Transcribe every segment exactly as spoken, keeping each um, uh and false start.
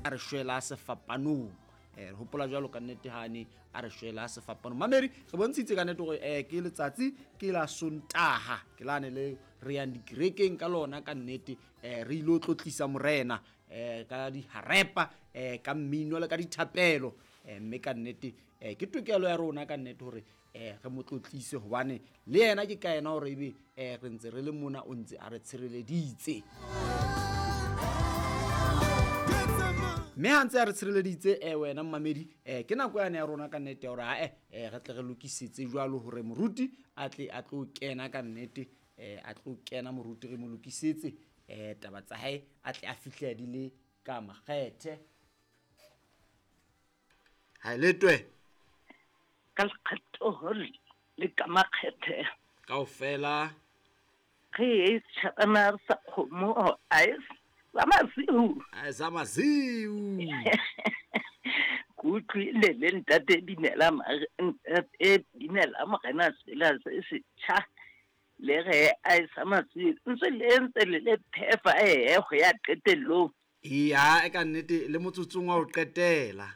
A re shwela sefapanong. Eh, re hopola jwalo ka nnete hane a re shwela sefapanong. Mamedi, re bontshitse ka nnete hore eh ke letsatsi ke la Sontaha, ke lane le re yang dikerekeng ka lona ka nnete. Eh re ilo tlotlisa morena eh ka diharepa, eh ka mmino le ka dithapelo. Eh mme ka nnete eh ke tokelo ya rona ka nnete hore eh re mo tlotlise, hobane le yena ke ka yena hore ebe eh re ntse re le mona, o ntse a re tshireleditse. Mme ha ntse a re tshireleditse eh wena mmamedi, eh ke nako yane ya rona ka nnete ya hore ae eh re tle re lokisetse jwalo hore moruti a tle a tlo kena ka nnete, eh a tlo kena moruti re mo lokisetse eh taba tsa hae a tle a fihle di le ka makgethe. Ha e letwe ka lekgetho le ka makgethe kaofela re tjhabana sa kgomo a e sa masiu, a sa masiu. Ke utlwile le ntate binela ntate binela morena sela se setjha le re a e sa masiu ntse le ntse le le phefa e ho ya qetellong. Iya, e ka nnete le motsotsong wa ho qetela.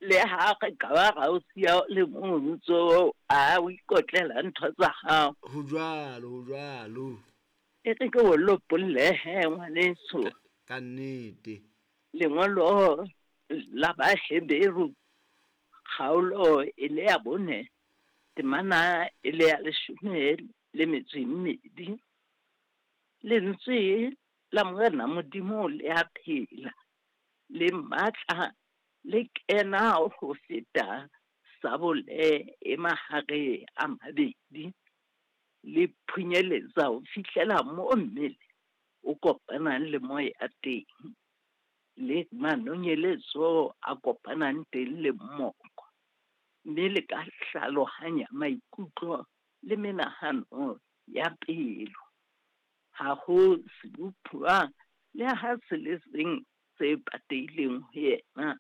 Le ha re ka ba ra o siya le montso a o ikotlela ntho tsa hao. Ho jwalo, ho jwalo. E re ke o lopolle he ngwaneso. Ka nnete. Lengolo la Baheberu kgaolo e le ya bone temana e le ya leshome le metso e mmedi. Lentswe la Morena Modimo le a phela, le matla, le kena ho feta sabole e mahare a mabedi, le phunyeletsa ho fihlela mo mmele o kopanang le moya teng, le manonyeletso a kopanang teng le mmoko, mme le ka hlalohanya maikutlo le menahano ya pelo. Ha ho sebopuwa le ha se le seng se patehileng ho yena,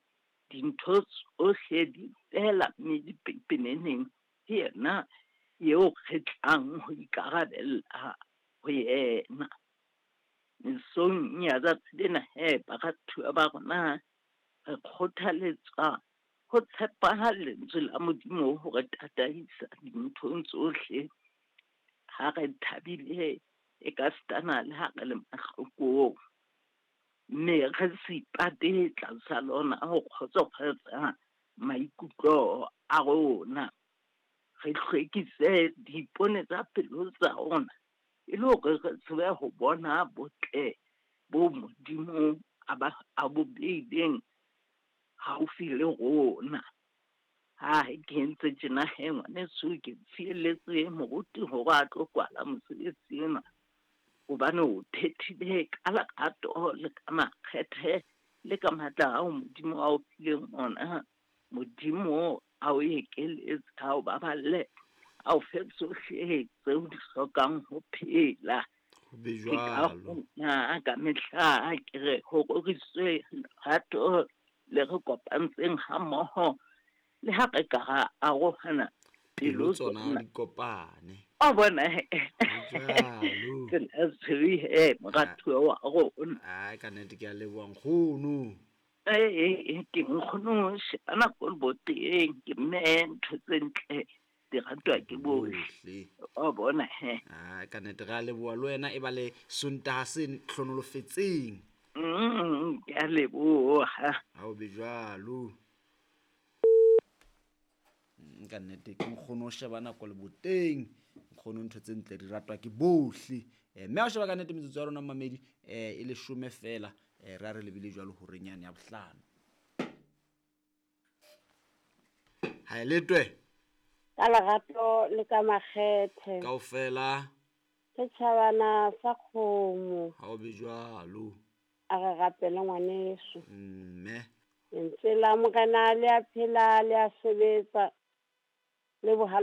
dintho tsohle di fela mme di pepeneneng ho yena eo re tlang ho ikarabella ho yena. Mesong ya tsatsi lena he baratuwa ba rona re kgothaletswa ho tshepa lentswe la Modimo hore tataisa dinthong tsohle. Ha re thabile e ka sitana le ha re le mahlokong, mme re se ipate tlasa lona ho kgotsofatsa maikutlo a rona. Re hlwekise diipone tsa pelo tsa rona e le hore re tsebe ho bona botle bo Modimo a ba a bo beileng haufi le rona. Ha ke entse tjena he ngwaneso, ke tshieletse moruti hore a tlo kwala mosebetsi ena, hobane o phethile ka lerato le ka makgethe le ka matla ao Modimo a o fileng ona. Modimo a o ekeletse, a o baballe, a o fe tsohle tseo di hlokang ho phela. Ho be Ke ka jwalo. hona ka mehla ke re ho roriswe lerato le re kopantseng hammoho, le ha re ka ra arohana Pelo pelo tsona tsona di kopane. O bona he. Ho jwalo. Tsela tshwere he moratuwa wa rona. Ai ka nnete ke a leboha nkgono. Eh, ke nkgono shebana ko boteng, ke mme ntho tse ntle di ratwa ke bohle. Bohle. O bona he. Ai ka nnete re a leboha le wena, e ba le Sontaha se hlonolofetseng. Mm, ke a leboha. Ha o be jwalo. Ka nnete ke nkgono o sheba nako le boteng, nkgono ntho tse ntle di ratwa ke bohle. Eh mme ha o sheba ka nnete metsotso ya rona mamedi eh e leshome fela, eh re a re lebile jwalo horeng yane ya bohlano. Ha e letwe ka lerato le ka makgethe kaofela setjhabana sa kgomo. Ha o be jwalo. A re rapele ngwaneso. Mme Lentswe la Morena le a phela, le a sebetsa, le bohale.